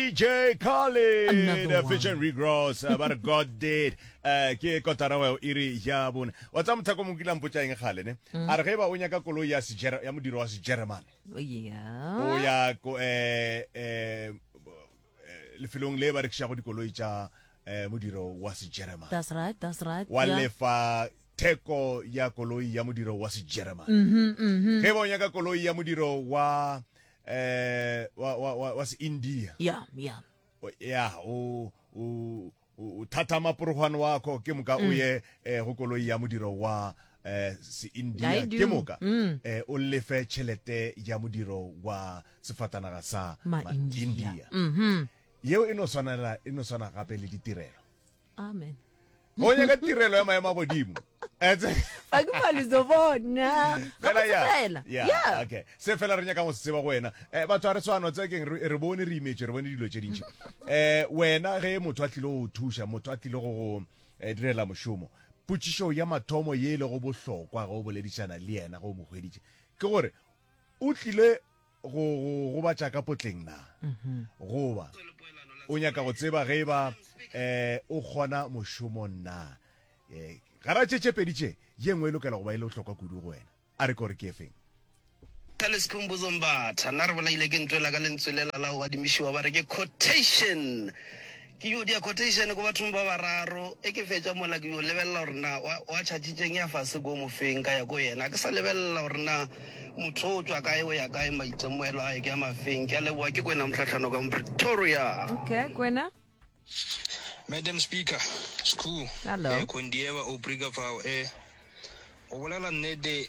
DJ Khaled Another one. featuring Rick Ross ba re God did Eh, ke kotara wa iri ya bone wa tsa mothako mo kila mpotša eng gale ne a re ge ba o nyaka koloi ya sejere ya modiro wa sejeremane Oh, yeah. o ya ko eh eh eh, lefelong le ba rekišago dikoloi tša eh, modiro wa sejeremane That's right, that's right. wa yeah. lefa theko ya koloi ya modiro wa sejeremane Mhm, mhm. ge ba o nyaka koloi ya modiro wa eh wa wa wa, wa se-india Yeah, yeah. O- ya o o o thatha maporogwane wako ke moka o ye eh, go koloi ya modiro wa eh, se-india I do. ke moka Mm. eh, o lefe tšhelete ya modiro wa sefatanaga sa Ma-India. ma-India. Mhm. yeo e no swanela e no swana gape le ditirelo Amen. Go nyaka tirelo ya maemo a godimo. Fa ke malizo bona. Fela ya. Fela. Yeah, Yeah. okay. Se fela re nyaka go se tseba go wena. Eh batho a re tshwana tse keng re re bone re imetše re bone dilo tše dintši. Eh wena ge motho a tlile go thuša, motho a tlile go go eh, direla mošomo. Potšišo ya mathomo ye e lego bohlokwa ge o boledišana le yena ge o mo hweditše ke gore o tlile go go gobatša ka potleng na? Goba o nyaka go tseba ge e ba um o kgona mošomo na? Um gara tše tše pedi tše, ye nngwe e lokela go ba e le bohlokwa kudu go wena. A re kore ke efeng? Ka Sikhumbuzo Mbatha, nna re bolaile ke ntwela ka lentswe lela la go adimišiwa ba re ke quotation. Ke yo dia quotation ko bathong ba bararo, e ke fetša mola ke yo lebelela gore na wa, wa tšhatšitšeng ya fase ko mofeng ka ya ko yena. Ke sa lebelela gore na motho o tšwa kae o ya kae, maitemogelo a ke a mafeng. Ke a leboga, ke Kwena Mohlahlano ka mo Pretoria. Okay, Kwena. Madam Speaker, Skhoo, Hello. eh, Khondieva o Brika fao, eh, go bolela nnete,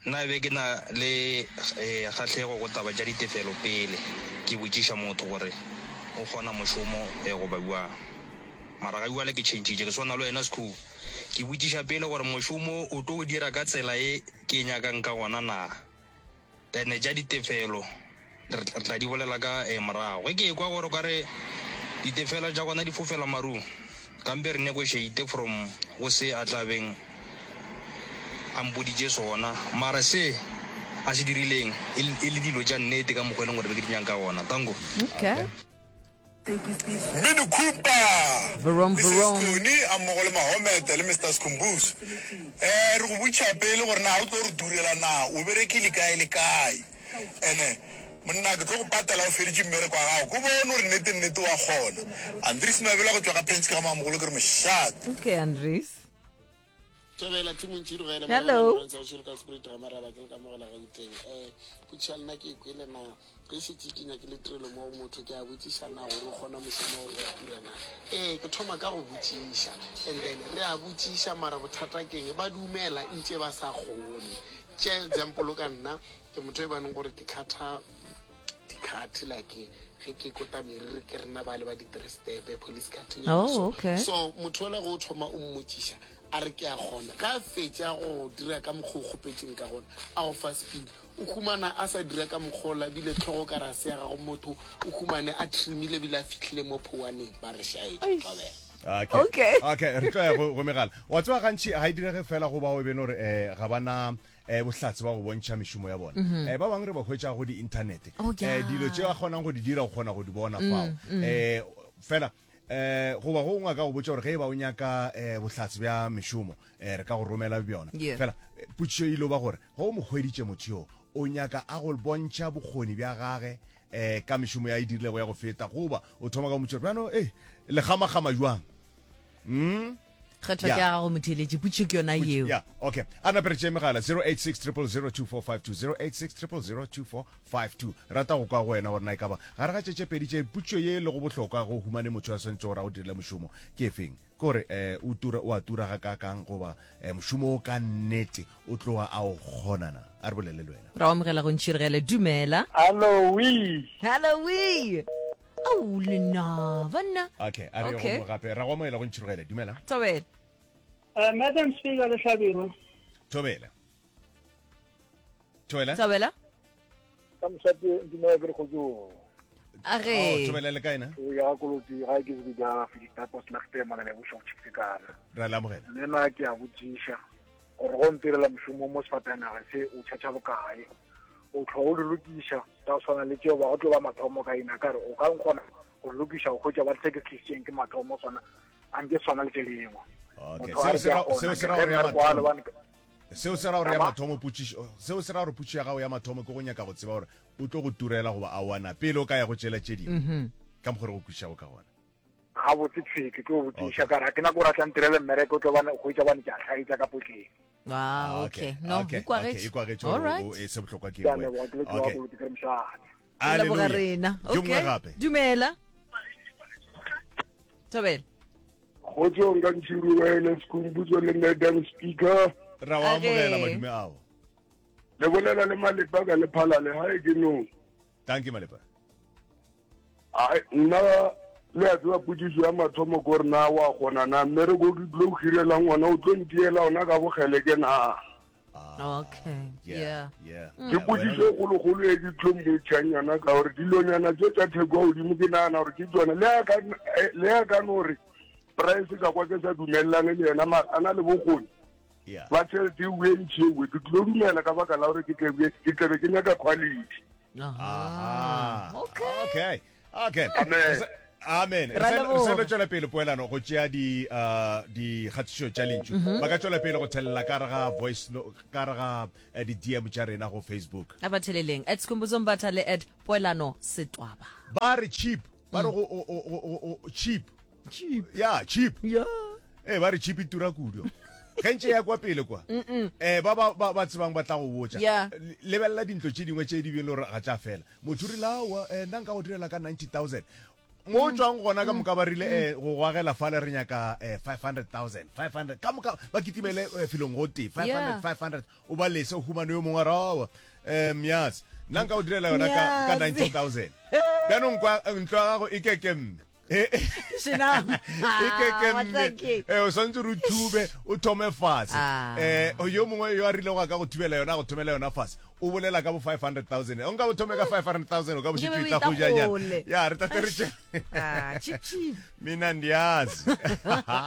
Nna be ke na le kgahlego go taba tša ditefelo pele ke botšiša motho gore o kgona mošomo goba bjang. Mara ga bjale ke tšhentšhitše, ke swana le wena Skhoo. Ke botšiša pele gore mošomo o tlo o dira ka tsela ye ke e nyakang ka gona na. Then tša ditefelo re tla di bolela ka morago. Ge ke ekwa gore o ka re ditefelo tša gona di fofela marung, kampe re negotiate from go se a tla beng a mpoditše sona. Mara se a se dirileng e le dilo tša nnete ka mokgwa e leng gore be ke di nyaka ka gona. Tanko. Okay. Mini Cooper, Vroom, Mrs vroom. Tony a mmogo le Mahomete le Mister Skhumbuzo. Eh, re go botšiša pele gore na o tlo re durela na, o berekile kae le kae. Ene monna ke tlo go patela o feditše mmereko wa gago, ko bone gore nnete nnete wa kgona. Andries Mabela go tšwa ga Penske ga Mamogolo ke re mošate. Okay, Andries. Thobela team Ntšhirogele Hello. Lawrence wa Tšhiro ka Spirit ga Maraba ke le ka mogela Gauteng. Eh potšiša lena ke e kwele na ge šetše ke nyakile tirelo mo go motho ke a botšiša na gore o kgona mošomo o wa tura na. Ee ke thoma ka go botšiša and then re a botšiša mara bothata keng ba dumela ntše ba sa kgone. Tšea example ka nna ke motho e baneng gore ke khatha di-cut like ge ke kota meriri ke rena ba le ba di-three step police cut Oh, so, okay. so motho ola go o thoma o mmotšiša a re ke a kgona ga a fetša go dira ka mokgwa o kgopetšeng ka gona a go fa speed o humana a sa dira ka mokgwa ola bile tlhogo ka rase ya gago motho o humane a trimile bile a fihlile mo phowaneng ba re šaetše thobela Okay. Okay. Okay, re tlo ya go go megala. Wa tseba gantši ga e direge fela go bao e beno gore eh ga bana eh bohlatse ba go bontšha mešomo ya bona. Eh ba bangwe re ba hwetša go di internet. Oh, Eh dilo tše ba kgonang go di dira o kgona go di bona fao. Eh fela eh goba go ngwe a ka go botša gore ge e ba o nyaka eh bohlatse bja mešomo eh re ka go romela bjona. Yeah. Fela eh, potšišo e ile ba gore ge o mo hweditše motho yo o nyaka a go bontšha bokgoni bja gage eh ka mešomo ya e dirilego ya go feta goba o thoma ka go motšha bjano eh le gamagama jwang mm Kgetho ke ya gago motheeletši, potšišo ke yona yeo. Yeah, okay. A nape re tšee megala 086 000 2452 086 000 2452. Rata go kwa go wena gore na e ka ba gare ga tše tše pedi tše potšišo ye e lego bohlokwa go humane motho a swanetše gore a go dirile mošomo ke efeng? Ke gore um o tura o a tura gakaakang goba um mošomo o ka nnete o tloga a o kgona na? A re bolele le wena. Ra o amogela go Ntšhirigele. Dumela. Hallo wee. Hallo wee. Au lena banna. Okay, a re ye go Okay. mo gape. Ra go amogela go Ntšhirogele. Dumela. Thobela. Uh, Madam Speaker le Hlabirwa. Thobela. Thobela. Thobela. Ka mošate dumela ke re kgotsong. A Oh, ge. Thobela le kae na? O ya koloti ga ke se ja Filista Poslagte mona le buša go tšhikana. Ra le amogela. Le nna ke a botšiša gore go ntirela mošomo mo sefatanaga se o tšhatša bokae. O tlho o di lokiša tsa go tshwana le tšeo ba go tlo ba mathomo ka ina ka re o ka nkgona. go lokiša go hwetša ba re se ke se tlišitšeng ke mathomo sona a nke swana le tše dingwe. Okay. Motho a Seo re se ke a ra kgona seo se ke ra ge gore ya mmereko wa mathomo lebane seo se ra gore ya Ama? mathomo potšišo seo se ra gore potšišo ya gago ya mathomo ke go nyaka go tseba gore o tlo go turela goba aowa na pele o ka ya go tšela tše dingwe ka mokgwa re go kwešišago ka gona. Gabotse thwi ke tlo botšiša Okay. ka re ga ke nako gore a tla ntirele mmereko o tlo bane hwetša bane ke a hlaetša ka potleng. Ah, okay. No, okay, e kwagetše. okay, e kwagetše All gore right. o- e se bohlokwa ke Ke a eng leboga ke le wena. Okay. tloa ke re mošate. Re leboga Hallelujah. rena. Yo mongwe Okay. gape. Dumela. Thobela. Kgotsong ka Ntšhiruwele Sekhumbuzo le Madam Speaker. Ra wa amogela Age. madume ao. Le bolela le Malepa ka Lephalale hae ke no. Thank you Malepa. Ai nna le a tseba potšišo ya mathomo ko re na wa kgona na mmereko ke tlo o hirelang ona o tlo ntiela ona ka bokgeleke na. Okay. Yeah. Yeah. Yeah. Ke potšišo e kgolokgolo e ke tlo mmotšang yona ka gore dilonyana tše tša theko ya godimo ke nagana gore ke tsona le a ka le a ka no re price ka kwa ke sa dumelelane le yena mara a na le bokgoni Yeah. ba tšhelete e e ntši ewe ke tlo dumela ka baka la gore ke tlebe ke tlebe ke nyaka quality. Aha. Okay. Okay. Okay. Amen. Amen. Re Ra sa- re leboga. sa lo tšwela pele poelano go tšea di uh, dikgatišo tša lentšu. Mhm. Ba ka tšwela pele go thelela ka re ga voice no, ka re ga eh, di DM tša rena go Facebook. A ba theleleng at Skhumbuzo Mbatha le at Poelano Setwaba. Ba re cheap. Ba re go o- o- o- o- o- cheap. Cheap. Yeah, cheap. Yeah. Eh ba re cheap e tura kudu. Ge ntše ya kwa pele kwa. Eh ba ba ba ba tsebang ba tla go botša. Yeah. Lebelela dintlo tše dingwe tše di bile gore ga tša fela. Motho o rile aowa eh, nna nka go direla ka 90000. Mo o tšwang gona ka moka ba rile eh, go go agela fale re nyaka eh, 500000 500 ka moka ba kitimele eh, felong go tee 500 Yeah. 500 o ba lese o humane yo mongwe a re aowa eh, myas nna nka go direla yona ka, ka Myas. 90000 bjanong kwa ntlo ya gago e keke mme E kekemme eh, o swantse re o thube o thome fase Ah. um yo mongwe yo a rilego a ka go thubela yona a go thomela yona fase o bolela ka bo 500000 o nka bo thome ka 500000 o ka bo Nke be šetše o tla eta go janyana kgole. ya re tate re tše Ah, cheap, cheap. mina ndiyazi.